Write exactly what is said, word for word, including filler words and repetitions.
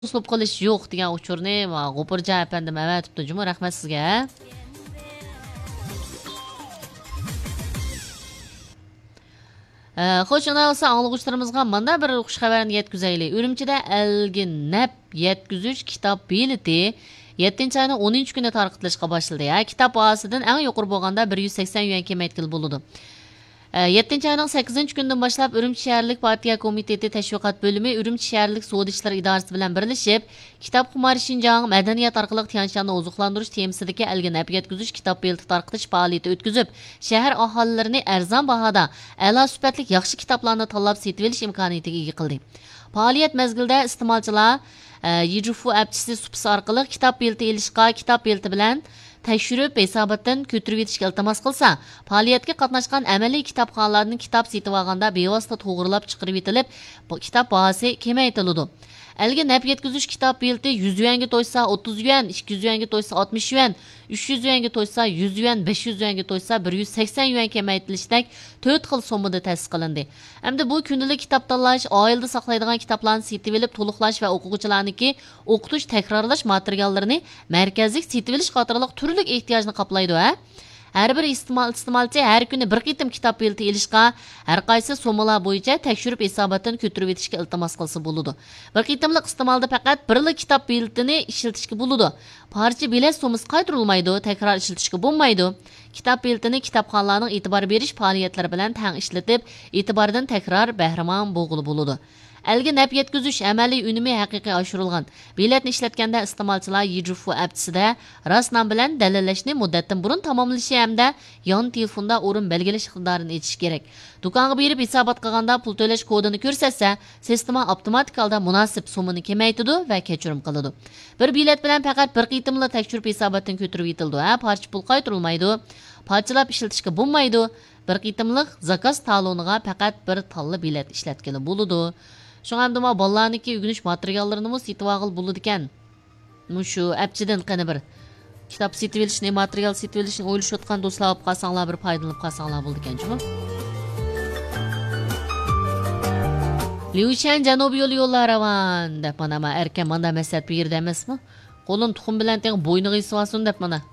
توسۇلۇپ قېلىش يوق دېگەن ئۇچۇرنى، ۋا، غوپۇرجان ئەپەندىم ئەۋەتىپتۇ جۇمۇ، رەھمەت سىزگە. ئە، خوش، ئانا بولسا ئاڭلىغۇچىلىرىمىزغا مانا بىر خۇش خەۋەرنى يەتكۈزەيلى. ئۈرۈمچىدە ئەلگە نەپ يەتكۈزۈش كىتاب بېلىتى يەتتىنچى ئاينىڭ ئونىنچى كۈنى تارقىتىلىشقا باشلىدى. ھە، كىتاب باھاسىدىن ئەڭ يۇقىرى بولغاندا بىر يۈز سەكسەن يۈەن كېمەيتكىلى بولىدۇ. ئە، يەتتىنچى ئاينىڭ سەككىزىنچى كۈنىدىن باشلاپ ئۈرۈمچى شەھەرلىك پارتىيە كومىتېتى تەشۋىقات بۆلۈمى ئۈرۈمچى شەھەرلىك سودا ئىشلىرى ئىدارىسى بىلەن بىرلىشىپ، كىتابخۇمار شىنجاڭ، مەدەنىيەت ئارقىلىق تيەنشاننى ئوزۇقلاندۇرۇش تېمىسىدىكى ئەلگە نەپ يەتكۈزۈش كىتاب بېلىتى تارقىتىش پائالىيىتى ئۆتكۈزۈپ، شەھەر ئاھالىلىرىنى ئەرزان باھادا، ئەلا سۈپەتلىك ياخشى كىتابلارنى تاللاپ سېتىۋېلىش ئىمكانىيىتىگە ئىگە قىلدى. پائالىيەت مەزگىلىدە ئىستېمالچىلار، ئە، يىجۇفۇ ئەپچىسى سۇپىسى ئارقىلىق كىتاب بېلىتى ئېلىشقا، كىتاب بېلىتى بىلەن تەكشۈرۈپ ھېساباتتىن كۆتۈرۈۋېتىشكە ئىلتىماس قىلسا، پائالىيەتكە قاتناشقان ئەمەلىي كىتابخانىلاردىن كىتاب سېتىۋالغاندا بىۋاسىتە توغرىلاپ چىقىرىۋېتىلىپ، بۇ كىتاب باھاسى كېمەيتىلىدۇ. ئەلگە نەپ يەتكۈزۈش كىتاب بېلىتى يۈز يۈەنگە توشسا، ئوتتۇز يۈەن، ئىككى يۈز يۈەنگە توشسا، ئاتمىش يۈەن، ئۈچ يۈز يۈەنگە توشسا، يۈز يۈەن، بەش يۈز يۈەنگە توشسا، بىر يۈز سەكسەن يۈەن كېمەيتىلىشتەك تۆت خىل سوممىدا تەسىس قىلىندى. ئەمدى بۇ كۈندىلىك كىتاب تاللاش، ئائىلىدە ساقلايدىغان كىتابلارنى سېتىۋېلىپ تولۇقلاش ۋە ئوقۇغۇچىلارنىڭكى ئوقۇتۇش، تەكرارلاش ماتېرىياللىرىنى مەركەزلىك سېتىۋېلىش قاتارلىق تۈرلۈك ئېھتىياجنى قاپلايدۇ، ھە؟ ھەر بىر ئىستېمال-، ئىستېمالچى ھەر كۈنى بىر قېتىم كىتاب بېلىتى ئېلىشقا، ھەر قايسى سوممىلار بويىچە تەكشۈرۈپ ھېساباتتىن كۆتۈرۈۋېتىشكە ئىلتىماس قىلسا بولىدۇ. بىر قېتىملىق ئىستېمالدا پەقەت بىرلا كىتاب بېلىتىنى ئىشلىتىشكە بولىدۇ. پارچە بېلەت سوممىسى قايتۇرۇلمايدۇ، تەكرار ئىشلىتىشكە بولمايدۇ. كىتاب بېلىتىنى كىتابخانىلارنىڭ ئېتىبار بېرىش پائالىيەتلىرى بىلەن تەڭ ئىشلىتىپ، ئېتىباردىن تەكرار بەھرىمەن بولغىلى بولىدۇ. ئەلگە نەپ يەتكۈزۈش ئەمەلىي ئۈنۈمى ھەقىقىي ئاشۇرۇلغان. بېلەتنى ئىشلەتكەندە ئىستېمالچىلار يىجۇفۇ ئەپچىسىدە راست نام بىلەن دەلىللەشنى مۇددەتتىن بۇرۇن تاماملىشى ھەمدە يان تېلېفوندا ئورۇن بەلگىلەش ئىقتىدارىنى ئېچىشى كېرەك. دۇكانغا بېرىپ ھېسابات قىلغاندا پۇل تۆلەش كودىنى كۆرسەتسە، سىستېما ئاپتوماتىك ھالدا مۇناسىپ سوممىنى كېمەيتىدۇ ۋە كەچۈرۈم قىلىدۇ. بىر بېلەت بىلەن پەقەت بىر قېتىملا تەكشۈرۈپ ھېساباتتىن كۆتۈرۈۋېتىلىدۇ، ھە، پارچە پۇل قايتۇرۇلمايدۇ، پارچىلاپ ئىشلىتىشكە بولمايدۇ. بىر قېتىملىق زاكاز تالونىغا پەقەت بىر تاللا بېلەت ئىشلەتكىلى بولىدۇ. شۇڭا ئەمدى مانا بالىلارنىڭكى ئۆگىنىش ماتېرىياللىرىنىمۇ سېتىۋالغىلى بولىدىكەن. مۇشۇ ئەپچىدىن قېنى بىر كىتاب سېتىۋېلىشنى، ماتېرىيال سېتىۋېلىشنى ئويلىشىۋاتقان دوستلار ئاپ قالساڭلار، بىر پايدىلىنىپ قالساڭلار بولىدىكەن جۇمۇ. ليۇشەن جەنۇبىي يولى يوللار راۋان دەپ مانا، مانا ئەركەن ماندا مەسلىھەت بېرىدۇ ئەمەسمۇ؟ قولىنى تۇخۇم بىلەن تېڭىپ بوينىغا ئېسىۋالسۇن دەپ مانا.